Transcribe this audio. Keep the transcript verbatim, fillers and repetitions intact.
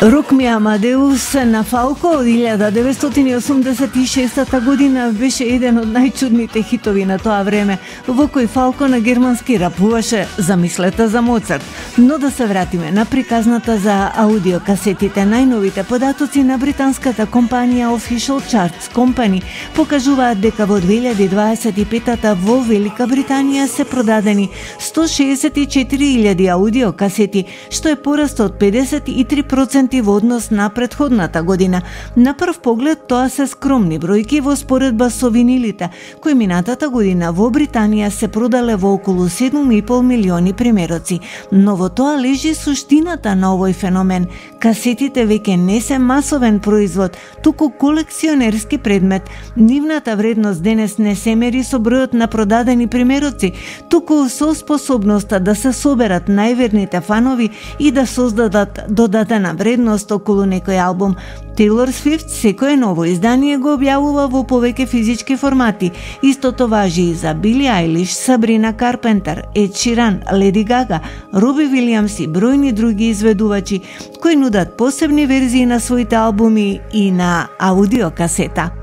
Рок ми Амадеус на Фалко од илјада деветстотини и осумдесет и шеста година беше еден од најчудните хитови на тоа време, во кој Фалко на германски рапуваше замислете за Моцарт. Но да се вратиме на приказната за аудиокасетите. Најновите податоци на британската компанија Official Charts Company покажуваат дека во две илјади дваесет и пета во Велика Британија се продадени сто шеесет и четири илјади аудиокасети, што е пораст од педесет и три проценти во однос на претходната година. На прв поглед тоа се скромни бројки во споредба со винилите, кои минатата година во Британија се продале во околу седум и пол милиони примероци. Но во тоа лежи суштината на овој феномен. Касетите веќе не се масовен производ, туку колекционерски предмет. Нивната вредност денес не се мери со бројот на продадени примероци, туку со способноста да се соберат најверните фанови и да создадат додатена вредност околу некој албум. Тейлор Свифт секое ново издание го објавува во повеќе физички формати. Истото важи и за Били Ајлиш, Сабрина Карпентер, Ед Ширан, Леди Гага, Роби Вилијамс и бројни други изведувачи кои нудат посебни верзии на своите албуми и на аудиокасета.